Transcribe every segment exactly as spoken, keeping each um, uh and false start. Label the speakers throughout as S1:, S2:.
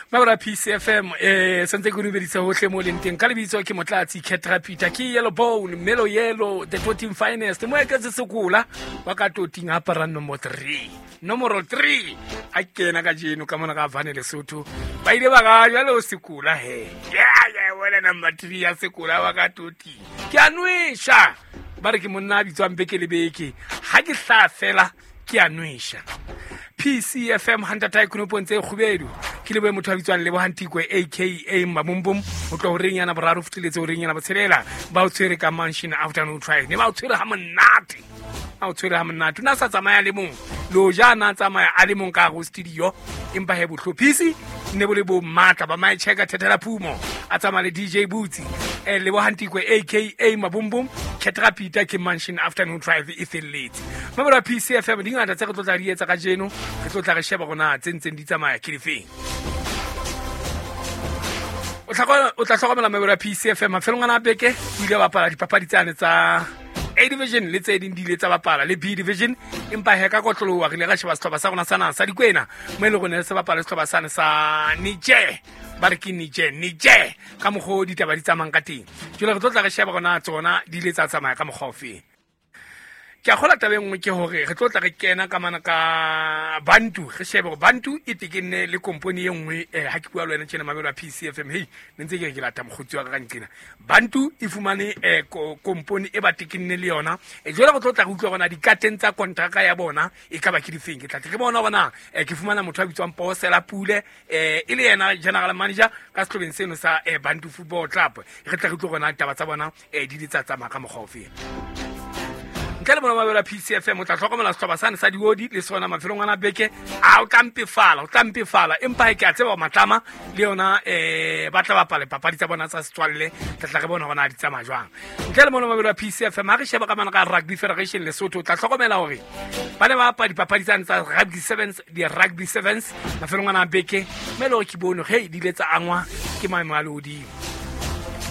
S1: Mabra P C F M eh santse ke dumedisa hohle mo leng teng ka lebitso ke Motlatsi Ketra Peter ke Yellow Bone Melo Yellow the Toting Finest mo eketse sekola wa ka Toting apara nomoro three nomoro three a kena ka jeno ka mona ka Vane Lesotho ba ile ba ga jalo sekola he yeah yeah wena number three ya sekola wa ka Toting ke a nwesha ba re ke monna a bitswang beke le beke ha ke hla fela ke a nwesha. P C F M hantata ikunopong tse kgubedu ke le motho a bitswang Lebohang Tikwe aka Mabumbum o tlo horeng yana boraro fitlheletse horeng yana botshelela ba o tshwere ka Mansion Afternoon Drive ne ba o tshwere ha monate a o tshwere ha monate na sa tsamaya le mong lo ja na tsamaya a le mong ka go studio empa he bohlophisi ne bo le bo matla ba my checker thethela phumo a tsamaya le D J Boots eh Lebohang Tikwe aka Mabumbum Ketra Peter ke Mansion Afternoon Drive e felletse. Mabra P C F M di ngata tse re tlo tla di etsa ka jeno re tlo tla re sheba rona tse ntseng di tsamaya ke difeng. O tla o tla hlokomela mabra P C F M mafelong ana beke o ile bapala dipapadi tsane tsa A division le tse ding di ile tsa bapala le B division empa he ka kotlolowa re ile ra sheba sehlopha sa rona sa naha sa Dikwena mo e leng hore se bapala sehlopha sane sa Niger ba re ke Niger Niger ka mokgwa o ditaba di tsamayang ka teng. Jwale re tlo tla re sheba rona tsona di ile tsa tsamaya ka mokgwa ofeng. Ke a kgola taba e nngwe ke hore re tlo tla re kena ka mana ka Bantu re shebe hore Bantu e tekenne le company e nngwe eh ha ke bua le wena tjena mabelo a P C F M hey ne ntse ke re ke lata mokgotsi wa ka ka nqena Bantu e fumane eh company e ba tekenne le yona e jwale re tlo tla re utlwa hore na dikateng tsa kontraka ya bona e ka ba ke difeng ke tla tle ke bona hore na ke fumana motho a bitswang Posela Pule eh e le yena general manager ka sehlobeng seno sa Bantu Football Club re tla re utlwa hore na ditaba tsa bona eh di di tsa tsamaya ka mokgwa ofeng. Ntle le bona mabelo a P C F M o tla hlokomela sehlopha sane sa Diodi le sona mafelong ana beke a o tla mpefala o tla mpefala empa ke a tseba matlama le yona eh ba tla bapala papadi tsa bona tsa setswalle tla tla re bona hore na di tsamaya jwang. Ntle le bona mabelo a P C F M ha re sheba ka mana ka Rugby Federation Lesotho o tla hlokomela hore ba ne ba bapala dipapadi tsane tsa Rugby Sevens di Rugby Sevens mafelong ana beke mme le hore ke bone he di ile tsa angwa ke maemo a lehodimo.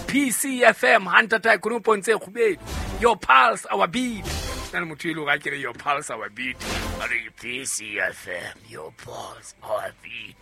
S1: P C F M hantata ikunopong tse kgubedu your pulse our beat nna le motho e le hore a kere your pulse our beat a re P C F M your pulse our beat.